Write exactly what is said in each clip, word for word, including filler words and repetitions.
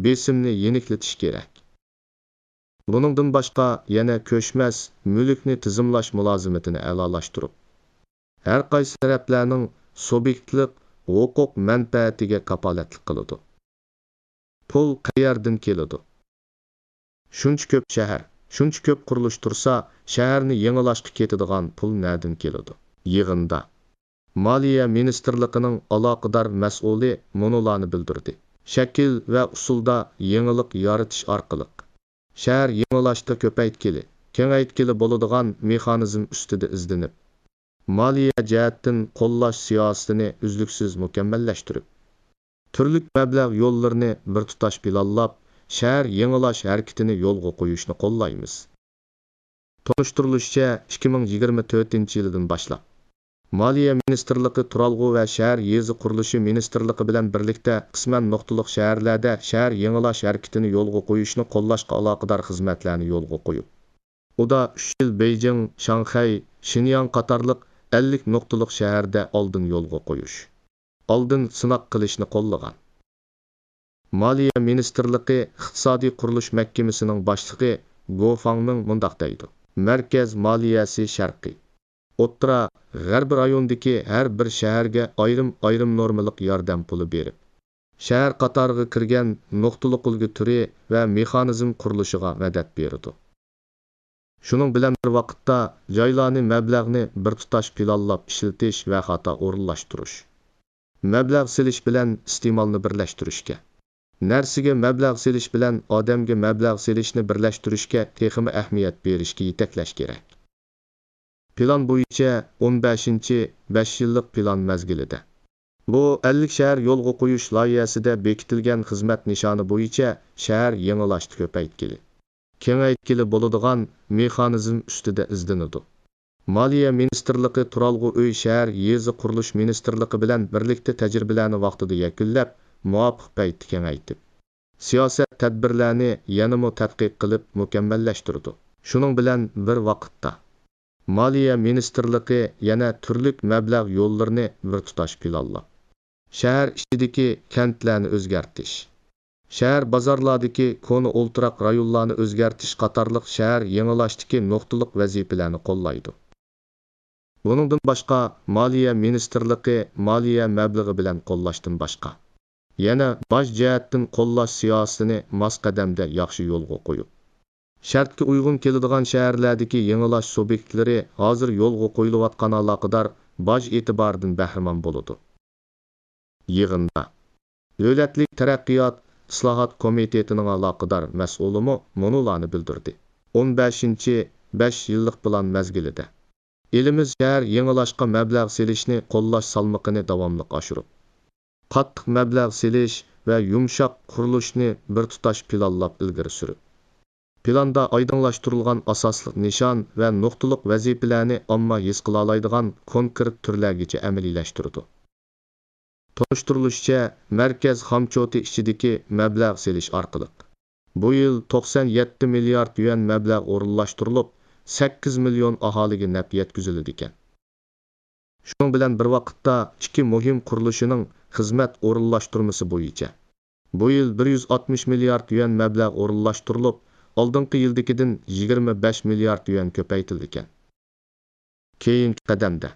بېسىمنى يېنىكلىتىش كېرەك. بۇنىڭدىن باشقا، يەنە كۆچمەس مۈلۈكنى تىزىملاش مۇلازىمىتىنى ئەلالاشتۇرۇپ، ھەر قايسى تەرەپلەرنىڭ سۇبيېكتلىق ھوقۇق مەنپەئەتىگە كاپالەتلىك قىلىدۇ. پۇل قەيەردىن كېلىدۇ؟ شۇنچە كۆپ شەھەر، شۇنچە كۆپ قۇرۇلۇش تۇرسا، شەھەرنى يېڭىلاشقا كېتىدىغان پۇل نەدىن كېلىدۇ؟ يىغىندا مالىيە مىنىستىرلىقىنىڭ ئالاقىدار مەسئۇلى مۇنۇلارنى بىلدۈردى: شەكىل ۋە ئۇسۇلدا يېڭىلىق يارىتىش ئارقىلىق، شەھەر يېڭىلاشتا كۆپەيتكىلى، كېڭەيتكىلى بولىدىغان مېخانىزم ئۈستىدە ئىزدىنىپ، مالىيە جەھەتتىن قوللاش سىياسىتىنى ئۈزلۈكسىز مۇكەممەللەشتۈرۈپ، تۈرلۈك مەبلەغ يوللىرىنى بىر تۇتاش پىلانلاپ، شەھەر يېڭىلاش ھەرىكىتىنى يولغا قويۇشنى قوللايمىز. تونۇشتۇرۇلۇشىچە، ئىككى مىڭ يىگىرمە تۆتىنچى يىلىدىن باشلاپ، مالىيە مىنىستىرلىقى تۇرالغۇ ۋە شەھەر يېزا قۇرۇلۇشى مىنىستىرلىقى بىلەن بىرلىكتە قىسمەن نۇقتىلىق شەھەرلەردە شەھەر يېڭىلاش ھەرىكىتىنى يولغا قويۇشنى قوللاشقا ئالاقىدار خىزمەتلەرنى يولغا قويۇپ، ئۇدا ئۈچ يىل بېيجىڭ، شاڭخەي، شېنياڭ قاتارلىق ئەللىك نۇقتىلىق شەھەردە ئالدىن يولغا قويۇش، ئالدىن سىناق قىلىشنى قوللىغان. مالىيە مىنىستىرلىقى ئىقتىسادىي قۇرۇلۇش مەھكىمىسىنىڭ باشلىقى گو فاڭمىڭ مۇنداق دەيدۇ: مەركەز مالىيەسى شەرقىي، ئوتتۇرا، غەربىي رايوندىكى ھەر بىر شەھەرگە ئايرىم-ئايرىم نورمىلىق ياردەم پۇلى بېرىپ، شەھەر قاتارىغا كىرگەن نۇقتىلىق ئۈلگە تۈرى ۋە مېخانىزم قۇرۇلۇشىغا مەدەت بېرىدۇ. شۇنىڭ بىلەن بىر ۋاقىتتا، جايلارنى مەبلەغنى بىر تۇتاش پىلانلاپ ئىشلىتىش ۋە خاتا ئورۇنلاشتۇرۇش، مەبلەغ سېلىش بىلەن ئىستېمالنى بىرلەشتۈرۈشكە، نەرسىگە مەبلەغ سېلىش بىلەن ئادەمگە مەبلەغ سېلىشنى بىرلەشتۈرۈشكە تېخىمۇ ئەھمىيەت بېرىشكە يېتەكلەش كېرەك. پىلان بويىچە ئون بەشىنچى بەش يىللىق پىلان مەزگىلىدە، بۇ ئەللىك شەھەر يولغا قويۇش لايىھەسىدە بېكىتىلگەن خىزمەت نىشانى بويىچە شەھەر يېڭىلاشتا كۆپەيتكىلى، كېڭەيتكىلى بولىدىغان مېخانىزم ئۈستىدە ئىزدىنىدۇ. مالىيە مىنىستىرلىقى تۇرالغۇ ئۆي شەھەر يېزا قۇرۇلۇش مىنىستىرلىقى بىلەن بىرلىكتە تەجرىبىلەرنى ۋاقتىدا يەكۈنلەپ، مۇۋاپىق پەيتتە كېڭەيتىپ، سىياسەت تەدبىرلەرنى يەنىمۇ تەتقىق قىلىپ مۇكەممەللەشتۈرىدۇ. شۇنىڭ بىلەن بىر ۋاقىتتا، مالىيە مىنىستىرلىقى يەنە تۈرلۈك مەبلەغ يوللىرىنى بىر تۇتاش پىلانلاپ، شەھەر ئىچىدىكى كەنتلەرنى ئۆزگەرتىش، شەھەر بازارلاردىكى كونا ئولتۇراق رايونلارنى ئۆزگەرتىش قاتارلىق شەھەر يېڭىلاشتىكى نۇقتىلىق ۋەزىپىلەرنى قوللايدۇ. بۇنىڭدىن باشقا، مالىيە مىنىستىرلىقى مالىيە مەبلىغى بىلەن قوللاشتىن باشقا، يەنە باج جەھەتتىن قوللاش سىياسىتىنى ماس قەدەمدە ياخشى يولغا قويۇپ، شەرتكە ئۇيغۇن كېلىدىغان شەھەرلەردىكى يېڭىلاش سۇبيېكتلىرى ھازىر يولغا قويۇلۇۋاتقان ئالاقىدار باج ئېتىبارىدىن بەھرىمەن بولىدۇ. يىغىندا دۆلەتلىك تەرەققىيات ئىسلاھات كومىتېتىنىڭ ئالاقىدار مەسئۇلىمۇ مۇنۇلارنى بىلدۈردى: ئون بەشىنچى بەش يىللىق پىلان مەزگىلىدە، ئېلىمىز شەھەر يېڭىلاشقا مەبلەغ سېلىشنى قوللاش سالمىقىنى داۋاملىق ئاشۇرۇپ، قاتتىق مەبلەغ سېلىش ۋە يۇمشاق قۇرۇلۇشنى بىر تۇتاش پىلانلاپ ئىلگىرى سۈرۈپ، پىلاندا ئايدىڭلاشتۇرۇلغان ئاساسلىق نىشان ۋە نۇقتىلىق ۋەزىپىلەرنى ئامما ھېس قىلالايدىغان كونكرېت تۈرلەرگىچە ئەمەلىيلەشتۈرىدۇ. تونۇشتۇرۇلۇشىچە، مەركەز خامچوتى ئىچىدىكى مەبلەغ سېلىش ئارقىلىق، بۇ يىل توقسان يەتتە مىليارد يۈەن مەبلەغ ئورۇنلاشتۇرۇلۇپ، سەككىز مىليون ئاھالىگە نەپ يەتكۈزۈلىدىكەن. شۇنىڭ بىلەن بىر ۋاقىتتا، ئىككى مۇھىم قۇرۇلۇشىنىڭ خىزمەت ئورۇنلاشتۇرمىسى بويىچە، بۇ يىل بىر يۈز ئاتمىش مىليارد يۈەن مەبلەغ ئورۇنلاشتۇرۇلۇپ، ئالدىنقى يىلدىكىدىن يىگىرمە بەش مىليارد يۈەن كۆپەيتىلىدىكەن. كېيىنكى قەدەمدە،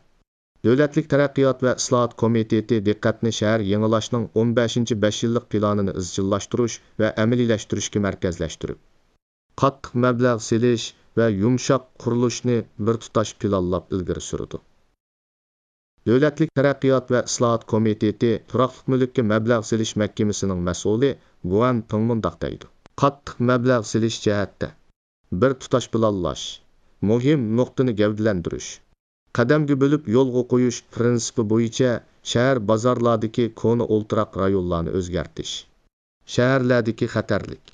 دۆلەتلىك تەرەققىيات ۋە ئىسلاھات كومىتېتى دىققەتنى شەھەر يېڭىلاشنىڭ ئون بەشىنچى بەش يىللىق پىلانىنى ئىزچىللاشتۇرۇش ۋە ئەمەلىيلەشتۈرۈشكە مەركەزلەشتۈرۈپ، قاتتىق مەبلەغ سېلىش ۋە يۇمشاق قۇرۇلۇشنى بىر تۇتاش پىلانلاپ ئىلگىرى سۈرىدۇ. دۆلەتلىك تەرەققىيات ۋە ئىسلاھات كومىتېتى تۇراقلىق مۈلۈككە مەبلەغ سېلىش مەھكىمىسىنىڭ مەسئۇلى گۇەن پىڭ مۇنداق دەيدۇ: قاتتىق مەبلەغ سېلىش جەھەتتە، بىر تۇتاش پىلانلاش، مۇھىم نۇقتىنى گەۋدىلەندۈرۈش، قەدەمگە بۆلۈپ يولغا قويۇش پىرىنسىپى بويىچە شەھەر بازارلاردىكى كونا ئولتۇراق رايونلارنى ئۆزگەرتىش، شەھەرلەردىكى خەتەرلىك،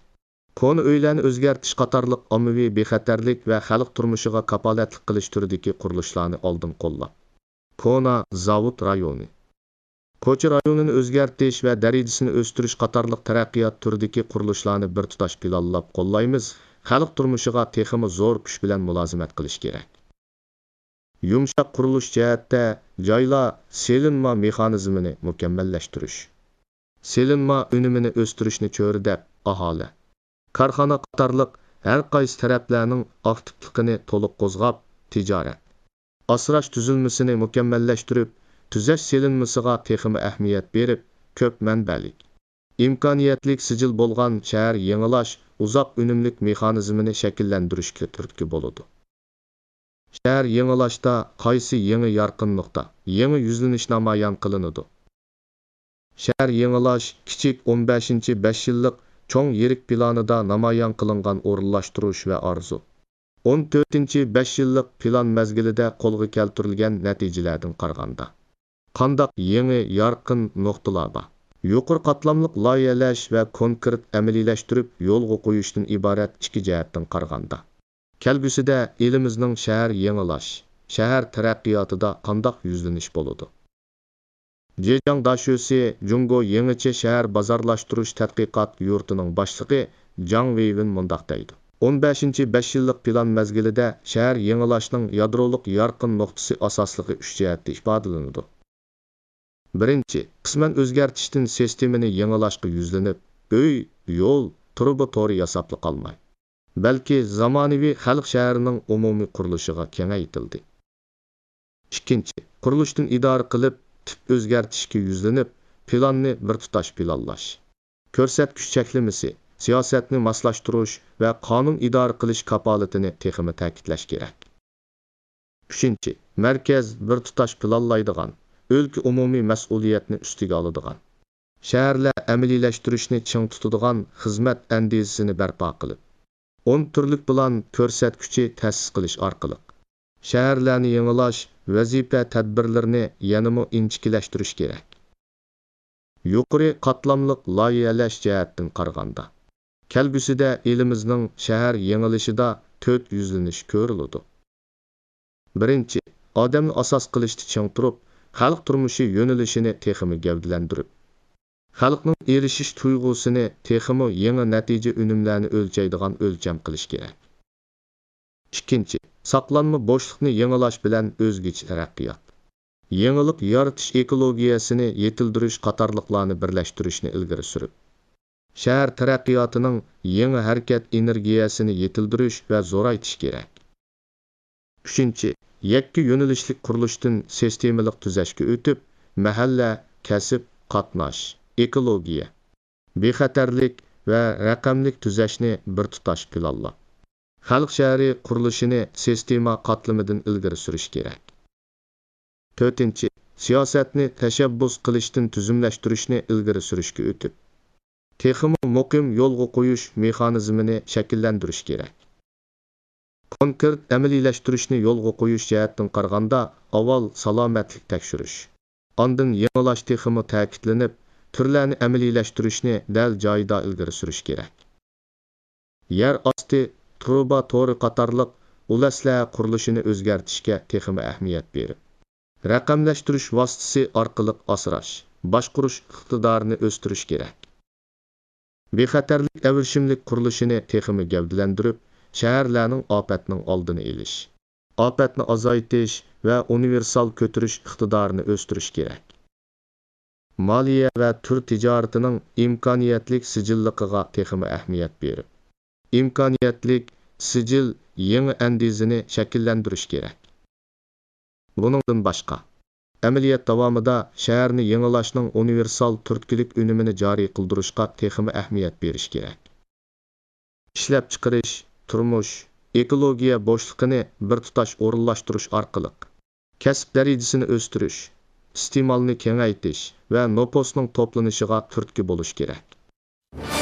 كونا ئۆيلەرنى ئۆزگەرتىش قاتارلىق ئاممىۋى بىخەتەرلىك ۋە خەلق تۇرمۇشىغا كاپالەتلىك قىلىش تۈرىدىكى قۇرۇلۇشلارنى ئالدىن قوللاپ، كونا زاۋۇت رايونى، كوچا رايونىنى ئۆزگەرتىش ۋە دەرىجىسىنى ئۆستۈرۈش قاتارلىق تەرەققىيات تۈرىدىكى قۇرۇلۇشلارنى بىر تۇتاش پىلانلاپ قوللايمىز، خەلق تۇرمۇشىغا تېخىمۇ زور كۈچ بىلەن مۇلازىمەت قىلىش كېرەك. يۇمشاق قۇرۇلۇش جەھەتتە، جايلار سېلىنما مېخانىزمىنى مۇكەممەللەشتۈرۈش، سېلىنما ئۈنۈمىنى ئۆستۈرۈشنى چۆرىدەپ، ئاھالە، كارخانا قاتارلىق ھەر قايسى تەرەپلەرنىڭ ئاكتىپلىقىنى تولۇق قوزغاپ، تىجارەت، ئاسراش تۈزۈلمىسىنى مۇكەممەللەشتۈرۈپ، تۈزەش سېلىنمىسىغا تېخىمۇ ئەھمىيەت بېرىپ، كۆپ مەنبەلىك، ئىمكانىيەتلىك سىجىل بولغان شەھەر يېڭىلاش ئۇزاق ئۈنۈملۈك مېخانىزمىنى شەكىللەندۈرۈشكە تۈرتكە بولىدۇ. شەھەر يېڭىلاشتا قايسى يېڭى يارقىن نۇقتا، يېڭى يۈزلىنىش نامايان قىلىنىدۇ؟ شەھەر يېڭىلاش كىچىك ئون بەشىنچى بەش يىللىق چوڭ يىرىك پىلانىدا نامايان قىلىنغان ئورۇنلاشتۇرۇش ۋە ئارزۇ. ئون تۆتىنچى بەش يىللىق پىلان مەزگىلىدە قولغا كەلتۈرۈلگەن نەتىجىلەردىن قارىغاندا، قانداق يېڭى يارقىن نۇقتىلار بار؟ يۇقىرى قاتلاملىق لايىھەلەش ۋە كونكرېت ئەمەلىيلەشتۈرۈپ يولغا قويۇشتىن ئىبارەت ئىككى جەھەتتىن قارىغاندا، كەلگۈسىدە ئېلىمىزنىڭ شەھەر يېڭىلاش، شەھەر تەرەققىياتىدا قانداق يۈزلىنىش بولىدۇ؟ جېجياڭ داشۆسى جۇڭگو يېڭىچە شەھەر بازارلاشتۇرۇش تەتقىقات يۇرتىنىڭ باشلىقى جاڭ ۋېيۋېن مۇنداق دەيدۇ: ئون بەشىنچى بەش يىللىق پىلان مەزگىلىدە شەھەر يېڭىلاشنىڭ يادرولۇق يارقىن نۇقتىسى ئاساسلىقى ئۈچ جەھەتتە ئىپادىلىنىدۇ. بىرىنچى، قىسمەن ئۆزگەرتىشتىن سىستېمىنى يېڭىلاشقا يۈزلىنىپ، ئۆي، يول، تۇرۇبا تورى ياساپلا قالماي، بەلكى زامانىۋى خەلق شەھىرىنىڭ ئومۇمىي قۇرۇلۇشىغا كېڭەيتىلدى. ئىككىنچى، قۇرۇلۇشتىن ئىدارە قىلىپ، تىپ ئۆزگەرتىشكە يۈزلىنىپ، پىلاننى بىر تۇتاش پىلانلاش، كۆرسەتكۈچ چەكلىمىسى، سىياسەتنى ماسلاشتۇرۇش ۋە قانۇن ئىدارە قىلىش كاپالىتىنى تېخىمۇ تەكىتلەش كېرەك. ئۈچىنچى، مەركەز بىر تۇتاش پىلانلايدىغان، ئۆلكە ئومۇمىي مەسئۇلىيەتنى ئۈستىگە ئالىدىغان، شەھەرلەر ئەمەلىيلەشتۈرۈشنى چىڭ تۇتىدىغان خىزمەت ئەندىزىسىنى بەرپا قىلىپ، ئون تۈرلۈك پىلان كۆرسەتكۈچى تەسىس قىلىش ئارقىلىق، شەھەرلەرنى يېڭىلاش ۋەزىپە تەدبىرلىرىنى يەنىمۇ ئىنچىكىلەشتۈرۈش كېرەك. يۇقىرى قاتلاملىق لايىھەلەش جەھەتتىن قارىغاندا، كەلگۈسىدە ئېلىمىزنىڭ شەھەر يېڭىلىشىدا تۆت يۈزلىنىش كۆرۈلىدۇ. بىرىنچى، ئادەمنى ئاساس قىلىشتا چىڭ تۇرۇپ، خەلق تۇرمۇشى يۆنىلىشىنى تېخىمۇ گەۋدىلەندۈرۈپ، خەلقنىڭ ئېرىشىش تۇيغۇسىنى تېخىمۇ يېڭى نەتىجە ئۈنۈملەرنى ئۆلچەيدىغان ئۆلچەم قىلىش كېرەك. ئىككىنچى، ساقلانما بوشلۇقنى يېڭىلاش بىلەن ئۆزگىچە تەرەققىيات، يېڭىلىق يارىتىش ئېكولوگىيەسىنى يېتىلدۈرۈش قاتارلىقلارنى بىرلەشتۈرۈشنى ئىلگىرى سۈرۈپ، شەھەر تەرەققىياتىنىڭ يېڭى ھەرىكەت ئېنېرگىيەسىنى يېتىلدۈرۈش ۋە زورايتىش كېرەك. ئۈچىنچى، يەككە يۆنىلىشلىك قۇرۇلۇشتىن سىستېمىلىق تۈزەشكە ئۆتۈپ، مەھەللە، كەسىپ، قاتناش، ئېكولوگىيە، بىخەتەرلىك ۋە رەقەملىك تۈزەشنى بىر تۇتاش پىلانلاپ، خەلق شەھىرى قۇرۇلۇشىنى سىستېما قاتلىمىدىن ئىلگىرى سۈرۈش كېرەك. تۆتىنچى، سىياسەتنى تەشەببۇس قىلىشتىن تۈزۈملەشتۈرۈشنى ئىلگىرى سۈرۈشكە ئۆتۈپ، تېخىمۇ مۇقىم يولغا قويۇش مېخانىزمىنى شەكىللەندۈرۈش كېرەك. كونكرېت ئەمەلىيلەشتۈرۈشنى يولغا قويۇش جەھەتتىن قارىغاندا، ئاۋۋال سالامەتلىك تەكشۈرۈش، ئاندىن يېڭىلاش تېخىمۇ تەكىتلىنىپ، تۈرلەرنى ئەمەلىيلەشتۈرۈشنى دەل جايىدا ئىلگىرى سۈرۈش كېرەك. يەر ئاستى تۇرۇبا تورى قاتارلىق ئۇل ئەسلىھە قۇرۇلۇشىنى ئۆزگەرتىشكە تېخىمۇ ئەھمىيەت بېرىپ، رەقەملەشتۈرۈش ۋاسىتىسى ئارقىلىق ئاسراش، باشقۇرۇش ئىقتىدارىنى ئۆستۈرۈش كېرەك. بىخەتەرلىك ئەۋرىشىملىك قۇرۇلۇشىنى تېخىمۇ گەۋدىلەندۈرۈپ، شەھەرلەرنىڭ ئاپەتنىڭ ئالدىنى ئېلىش، ئاپەتنى ئازايتىش ۋە ئۇنىۋېرسال كۆتۈرۈش ئىقتىدارىنى ئۆستۈرۈش كېرەك. مالىيە ۋە تۈر تىجارىتىنىڭ ئىمكانىيەتلىك سىجىللىقىغا تېخىمۇ ئەھمىيەت بېرىپ، ئىمكانىيەتلىك سىجىل يېڭى ئەندىزىنى شەكىللەندۈرۈش كېرەك. بۇنىڭدىن باشقا، ئەمەلىيەت داۋامىدا شەھەرنى يېڭىلاشنىڭ ئۇنىۋېرسال تۈرتكىلىك ئۈنۈمىنى جارى قىلدۇرۇشقا تېخىمۇ ئەھمىيەت بېرىش كېرەك. ئىشلەپچىقىرىش، تۇرمۇش، ئېكولوگىيە بوشلۇقىنى بىر تۇتاش ئورۇنلاشتۇرۇش ئارقىلىق، كەسىپ دەرىجىسىنى ئۆستۈرۈش، ئىستېمالنى كېڭەيتىش ۋە نوپۇسنىڭ توپلىنىشىغا تۈرتكە بولۇش كېرەك.